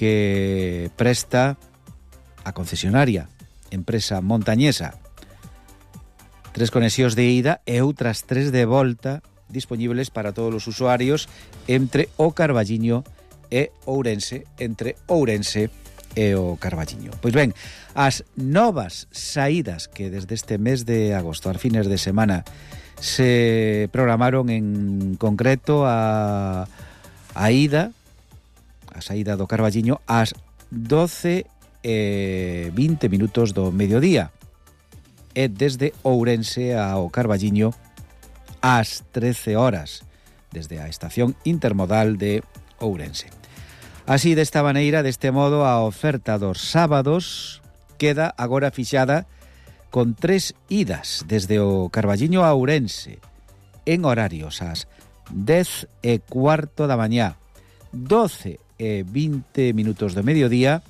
que presta a concesionaria, empresa montañesa. 3 conexións de ida e outras 3 de volta dispoñibles para todos os usuarios entre o Carballiño e Ourense, entre Ourense e o Carballiño. Pois ben, as novas saídas que desde este mes de agosto, as fines de semana, se programaron en concreto a ida, a saída do Carballiño ás 12:20 minutos do mediodía e desde Ourense ao Carballiño ás 13 horas desde a estación intermodal de Ourense. Así, desta maneira, deste modo, a oferta dos sábados queda agora fixada con 3 idas desde o Carballiño a Ourense en horarios ás 10:15 da mañá, 12:20 minutos do mediodía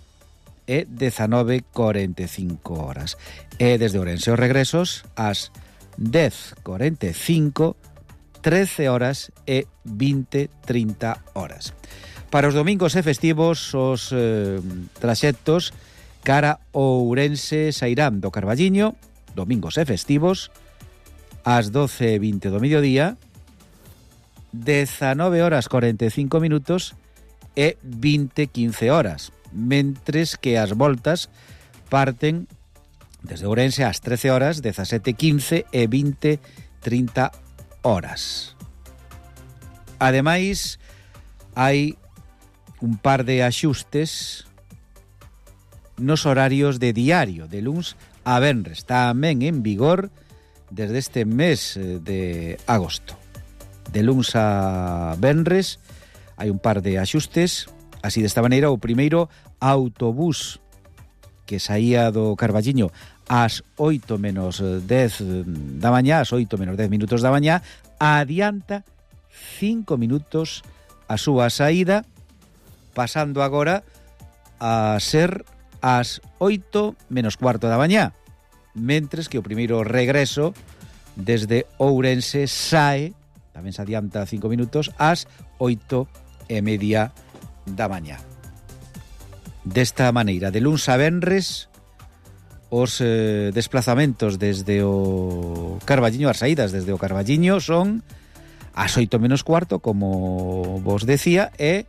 e 19:45 horas. E desde Ourense os regresos ás 10:45, 13 horas e 20:30 horas. Para os domingos e festivos, os traxectos cara Ourense sairán do Carballiño, domingos e festivos, ás 12:20 do mediodía, 19:45 minutos e 20:15 horas, mentres que as voltas parten desde Ourense ás 13 horas, 17:15 e 20:30 horas. Ademais, hai un par de axustes nos horarios de diario, de luns a venres, tamén en vigor desde este mes de agosto. De luns a venres hai un par de axustes, así desta maneira. O primeiro, autobús que saía do Carballiño ás 8 menos 10 da mañá, ás 8 menos 10 minutos da mañá, adianta 5 minutos a súa saída, pasando agora a ser ás 8 menos cuarto da mañá, mentres que o primeiro regreso desde Ourense sae, tamén se adianta 5 minutos, ás 8:30 da mañá. Desta maneira, de luns a venres, os desplazamentos desde o Carballiño, as saídas desde o Carballiño son ás 8 menos cuarto, como vos decía, e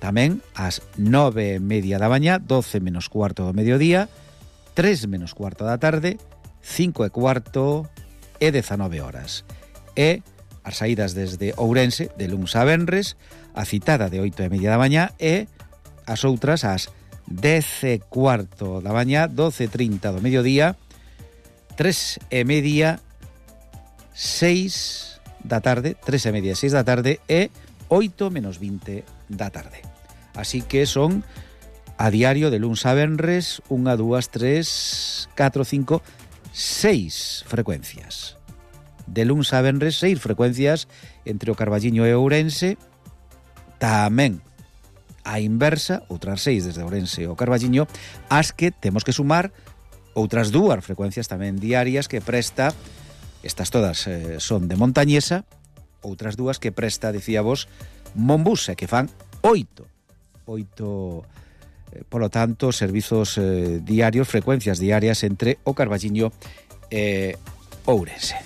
tamén ás 9:30 da mañá, 12 menos cuarto do mediodía, 3 menos cuarto da tarde, 5:15 e 19 horas. E as saídas desde Ourense, de luns a venres, a citada de 8:30 da mañá e as outras ás 10:15 da mañá, 12:30 do mediodía, 3:30, 6 da tarde, 3:30 e 6 da tarde e 8 menos 20 da tarde. Así que son a diario de luns a venres 1, 2, 3, 4, 5, 6 frecuencias. De luns a venres 6 frecuencias entre o Carballiño e Ourense. Tamén a inversa, outras 6 desde Ourense ao Carballiño, as que temos que sumar outras 2 frecuencias tamén diarias que presta, estas todas son de montañesa, outras 2 que presta, dicíavos, Monbus, que fan 8, polo tanto, servizos diarios, frecuencias diarias entre o Carballiño e Ourense.